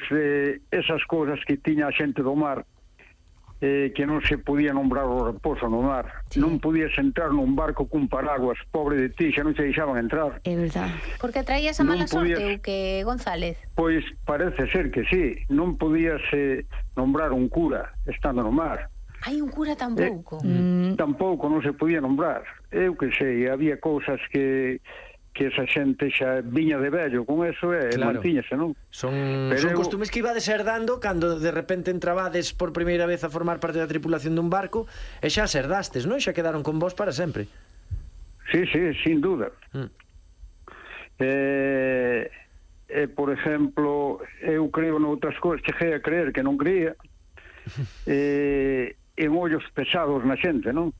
pois esas cousas que tiña a xente do mar, que non se podía nombrar o raposo no mar. Sí. Non podías entrar nun barco cun paraguas, pobre de ti, xa non se deixaban entrar. É verdad. Porque traías a mala sorte ou que, González? Pois parece ser que sí. Non podías nombrar un cura estando no mar. Hai un cura tampouco? Tampouco, non se podía nombrar. Eu que sei, había cousas que esa xente xa viña de vello con eso mantíñase, non? Son costumes que ibades herdando cando de repente entrabades por primeira vez a formar parte da tripulación dun barco e xa as herdastes, non? Xa quedaron con vos para sempre. Sí, sin duda. Por exemplo, eu creo noutras cousas, cheguei a creer que non creía, en ollos pesados na xente, non?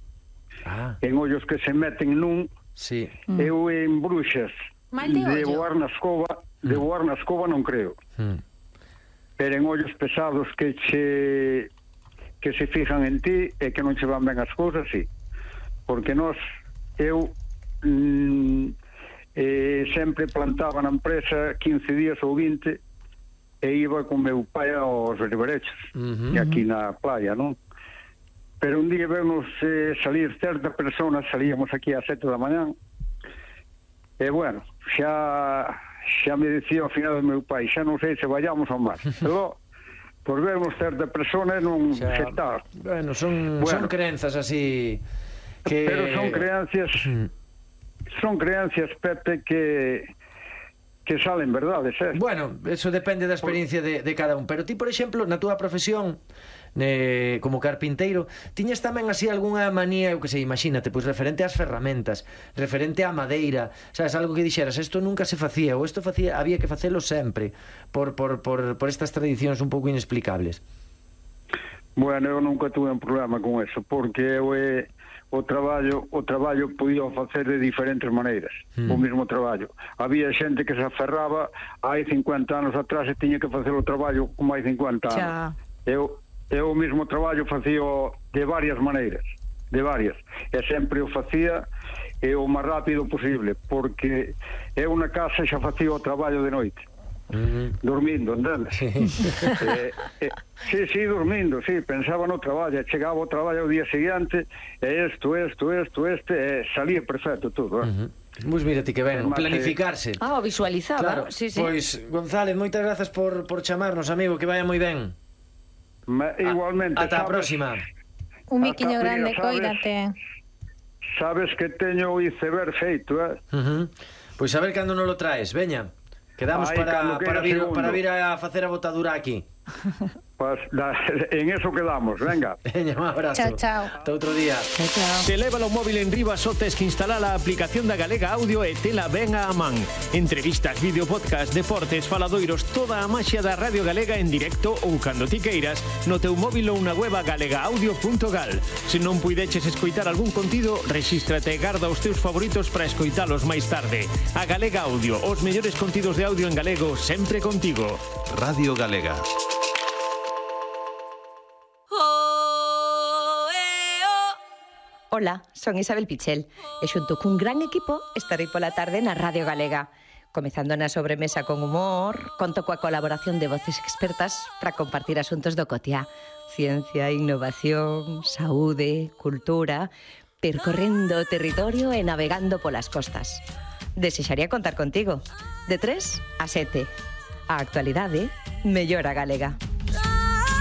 En ollos que se meten nun. Sí. Eu en bruxas de voar na escoba non creo. Pero en ollos pesados que se fijan en ti e que non se van ben as cousas, sí. Porque eu sempre plantaba na empresa 15 días ou 20 e iba con meu pai aos riberechos, aquí na playa, non? Pero un día vemos salir certa persona, salíamos aquí ás 7 da mañán, e bueno, xa me dicía ao final do meu pai, xa non sei se vayamos ao mar. Pero, por vermos certa persona non se está. Bueno, son crenzas así que... Pero son creencias, Pepe, que salen verdades, Bueno, eso depende da experiencia de cada un. Pero ti, por exemplo, na túa profesión como carpinteiro, tiñas tamén así algunha manía, eu que sei, imagínate, pois referente ás ferramentas, referente á madeira, sabes, algo que dixeras, isto nunca se facía, ou isto había que facelo sempre, por estas tradicións un pouco inexplicables? Bueno, eu nunca tuve un problema con eso, porque eu o traballo podía facer de diferentes maneiras, o mesmo traballo. Había xente que se aferraba hai 50 anos atrás e tiña que facer o traballo como hai 50 anos. Eu o mesmo traballo facía de varias maneiras, e sempre o facía o máis rápido posible, porque eu na casa xa facía o traballo de noite. Dormindo, entendes? Sí, dormindo, sí, pensaba no traballo, chegaba ao traballo o día seguinte, e salía perfecto todo, Pois mira ti que ben, planificarse. O visualizaba. Claro, pois, González, moitas grazas por chamarnos, amigo, que vaya moi ben. Igualmente. Ata a próxima. Un miquiño grande, coídate. Sabes que teño o iceberg feito, Pois a ver cando nos lo traes, veña. Quedamos para vir a facer a botadura aquí. Pues en eso quedamos, venga. Veña, un abrazo. Chao. Hasta outro día. Chao. Se leva o móvil en riba só tes que instalar a aplicación da Galega Audio e tela ben a man. Entrevistas, vídeo, podcast, deportes, faladoiros, toda a maxia da Radio Galega en directo ou cando ti queiras no teu móvil ou na web galegaaudio.gal. Se non puideches escoitar algún contido, rexístrate e garda os teus favoritos para escoitalos máis tarde. A Galega Audio, os mellores contidos de audio en galego sempre contigo. Radio Galega. Ola, son Isabel Pichel e xunto cun gran equipo estarei pola tarde na Radio Galega. Comezando na sobremesa con humor, conto coa colaboración de voces expertas para compartir asuntos do cotiá. Ciencia, innovación, saúde, cultura, percorrendo o territorio e navegando polas costas. Desexaría contar contigo. De 3 a 7. A actualidade mellora galega.